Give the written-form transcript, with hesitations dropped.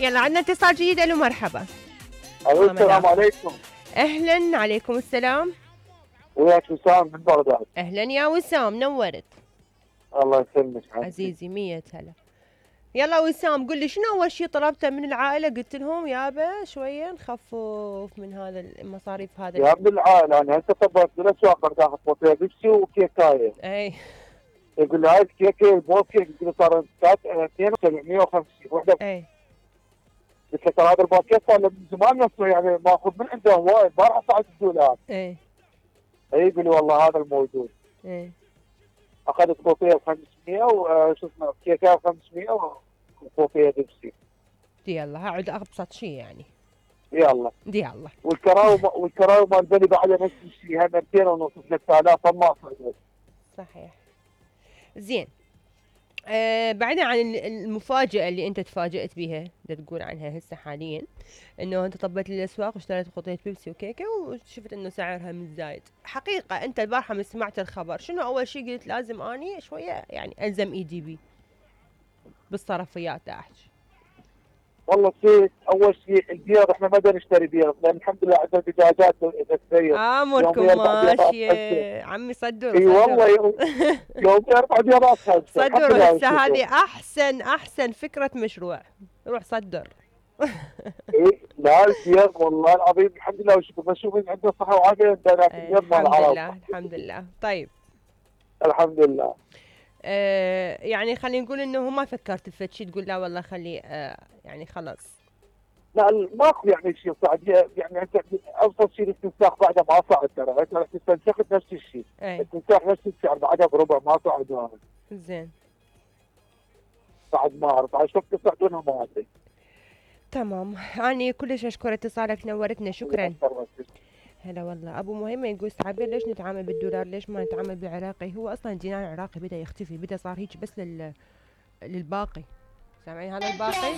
يلا عندنا اتصال جديد. الو مرحبا. السلام عليكم. اهلا. عليكم السلام. وياك وسام من بغداد. اهلا يا وسام، نورت. الله يسلمك عزيزي. 100 هلا. يلا وسام قل لي شنو اول شيء طلبته من العائله؟ قلت لهم يابا شويه نخفف من هذا المصاريف هذا يا ابن العائله انا هسه طبيت بالاسواق اريد اخذ بوطيه بيبسي وكيكايه. اي يقول لي هاي الكيكه البوكي يقول لي صار 2750 وحده. اي قلت له ترى هذا الباكيت صار من زمان نفسه يعني ماخذ من عندهم وايد ما راح اساعد الدولار. اي يقول لي والله هذا الموجود. اخذت بوطيه ب 500 وشو اسمه كيكه ب 500 وبوطيه بيبسي. يلا هقعد ابسط شيء يعني. يلا يلا. والكراوي مال بني بعد نفس الشيء، 200 ونص 3000 ما صعدت. صحيح. زين. بعيدا عن المفاجأة اللي انت تفاجأت بها تقول عنها هسه حاليا، انه انت طبيت للاسواق واشتريت خطية بيبسي وكيكة وشفت انه سعرها من زايد. حقيقة انت البارحة من سمعت الخبر شنو اول شيء قلت لازم اني شوية يعني الزم ايدي بي بالصرفيات احكي؟ والله اول شيء البيض احنا ما نشتري بيض لان الحمد لله عندنا دجاجات تتسير. اموركم ماشيه عمي. صدروا اي والله يوم 4 بيضات خمسه. صدروا هسه هذه احسن فكره مشروع. روح صدر. اي لا البيض والله العظيم الحمد لله وشكر بشوف ان عنده صحه وعافيه عندنا البيض مال العرب. الحمد لله الحمد لله. طيب الحمد لله. يعني خلينا نقول انه ما فكرت بفد شيء تقول لا والله خلي يعني خلاص؟ لا ماكو يعني شيء صعد يعني انت ابسط شيء الاستنساخ بعده ما صعد ترى انت رح تستنسخ نفس الشيء. الاستنساخ نفس السعر بعده بربع ما صعد هذا. زين. صعد ما اعرف عاد شوف تصعدونها ما ادري. تمام. اني كلش اشكر اتصالك نورتنا. شكرا. هلا والله. ابو مهمه يقول استعبير ليش نتعامل بالدولار؟ ليش ما نتعامل بالعراقي؟ هو اصلا الدينار العراقي بدا يختفي، بدا صار هيك بس للباقي. سامعين هذا الباقي؟